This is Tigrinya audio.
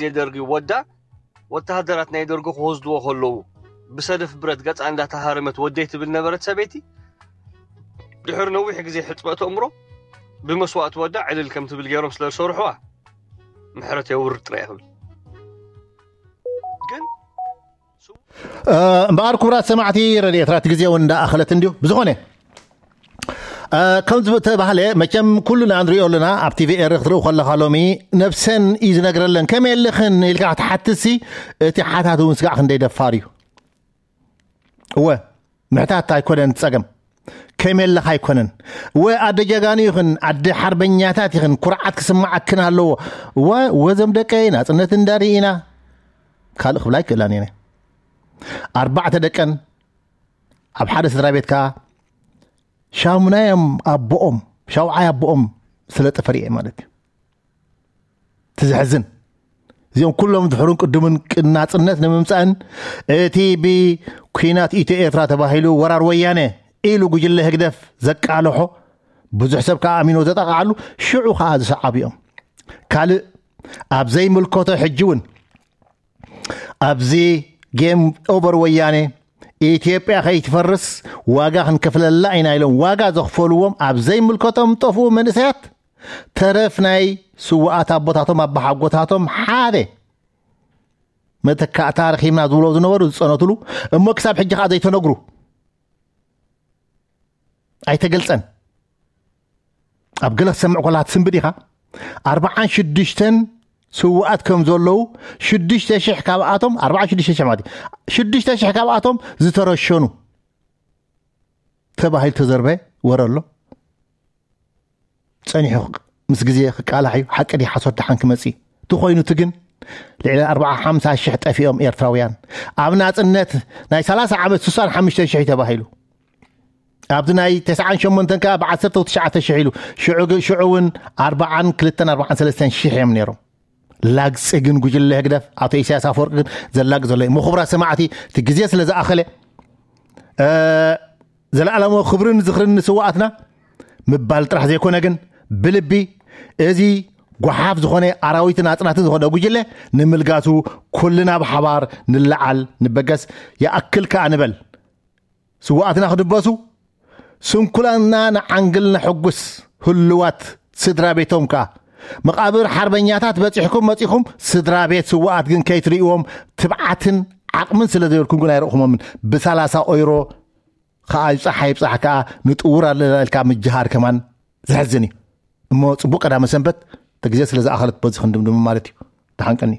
ግዜ ደርጊ ወዳ ወተሃደራት ናይ ደርጊ ክወስድዎ ከለዉ ብሰደፍ ብረት ገጻ እንዳተሃረመት ወደይ ትብል ነበረት ሰበይቲ። ድሕሪ ነዊሕ ግዜ ሕጽበተ እምሮ ብመስዋእቲ ወዳ ዕልል ከም ትብል ገይሮም ስለ ዝሰርሑዋ ምሕረት የውርድ ጥራይ ክብል ግን እምበኣር ክቡራት ሰማዕቲ ረድኤት ራት ግዜ እውን እንዳኣኸለት እንዲዩ ብዝኾነ ከም ዝተባህለ መቸም ኩሉና ንሪኦ ኣለና ኣብ ቲቪ ኤሪ ክትርኢ ከለካ ሎሚ ነብሰን እዩ ዝነግረለን ከመይ ኣለኽን ኢልካ ክትሓትሲ እቲ ሓታት እውን ስጋዕ ክንደይ ደፋር እዩ እወ ምሕታት ኣይኮነን ጸገም ከመይ ኣለኻ ኣይኮነን እወ ኣደ ጀጋኑ ይኽን ኣደ ሓርበኛታት ይኽን ኩርዓት ክስማዓክን ኣለዎ እወ ወዘም ደቀይ ናጽነት እንዳርኢና ካልእ ክብላ ኣይክእላን እየ ኣርባዕተ ደቀን ኣብ ሓደ ስድራ ቤት ከዓ ሻሙናዮም ኣቦኦም ሻውዓይ ኣቦኦም ስለ ጠፈር እየ ማለት እዩ ትዝሕዝን እዚኦም ኩሎም ድሕሩን ቅድምን ቅናፅነት ንምምፃእን እቲ ብኩናት ኢትዮ ኤርትራ ተባሂሉ ወራር ወያነ ኢሉ ጉጅለ ህግደፍ ዘቃልሖ ብዙሕ ሰብ ከዓ ኣሚኖ ዘጠቃዓሉ ሽዑ ከዓ ዝሰዓቡ እዮም ካልእ ኣብ ዘይምልከቶ ሕጂ እውን ኣብዚ ጌም ኦቨር ወያኔ ኢትዮጵያ ከይትፈርስ ዋጋ ክንከፍለላ ኢና ኢሎም ዋጋ ዘኽፈልዎም ኣብ ዘይምልከቶም ጠፍኡ መንእሰያት ተረፍ ናይ ስውኣት ኣቦታቶም ኣባሓጎታቶም ሓደ መተካእታ ረኺብና ዝብሎ ዝነበሩ ዝፀነትሉ እሞ ክሳብ ሕጂ ከዓ ዘይተነግሩ ኣይተገልፀን ኣብ ገለ ክሰምዕ ኮላ ትስንብድ ኢኻ ኣርብዓን ሽዱሽተን ስውኣት ከም ዘለዉ ሽዱሽተ ሽሕ ካብኣቶም ኣርብዓን ሽዱሽተ ሽሕ ማለት እዩ ሽዱሽተ ሽሕ ካብኣቶም ዝተረሸኑ ተባሂሉ ተዘርበ ወረ ኣሎ ጸኒሑ ምስ ግዜ ክቃላሕ እዩ ሓቂ ድዩ ሓሶት ደሓን ክመጽእ እዩ እቲ ኮይኑ እቲ ግን ልዕሊ ኣርብዓ ሓምሳ ሽሕ ጠፊኦም ኤርትራውያን ኣብ ናጽነት ናይ ሰላሳ ዓመት ስሳን ሓሙሽተ ሽሕ እዩ ተባሂሉ ኣብዚ ናይ ተስዓን ሸሞንተን ከዓ ብዓሰርተ ትሽዓተ ሽሕ ኢሉ ሽዑ እውን ኣርብዓን ክልተን ኣርብዓን ሰለስተን ሽሕ እዮም ነይሮም ላግፂ ግን ጉጅለ ህግደፍ ኣቶ ኢሳያስ ኣፈወርቂ ግን ዘላግ ዘሎ እዩ ምኹብራ ሰማዕቲ እቲ ግዜ ስለ ዝኣኸለ ዘለኣለሞ ክብርን ዝኽርን ንስዋኣትና ምባል ጥራሕ ዘይኮነ ግን ብልቢ እዚ ጓሓፍ ዝኾነ ኣራዊትን ኣፅናትን ዝኾነ ጉጅለ ንምልጋሱ ኩልና ብሓባር ንለዓል ንበገስ ይኣክል ከዓ ንበል ስዋኣትና ክድበሱ ስንኩላና ንዓንግል ነሐጉስ ህልዋት ስድራ ቤቶም ከኣ መቓብር ሓርበኛታት በጺሕኩም መጺኹም ስድራ ቤት ስዋኣት ግን ከይትርእዎም ትብዓትን ዓቕምን ስለ ዘይብልኩም ግን ኣይረእኹሞምን ብሳላሳ ኦይሮ ከኣ ይብጻሕ ኣይብጻሕ ከኣ ንጥውር ኣለና ኢልካ ምጅሃር ከማን ዘሕዝን እዩ እሞ ጽቡቅ ቀዳመ ሰንበት እቲ ግዜ ስለ ዝኣኸለት በዚ ክንድምድሙ ማለት እዩ ተሓንቀኒ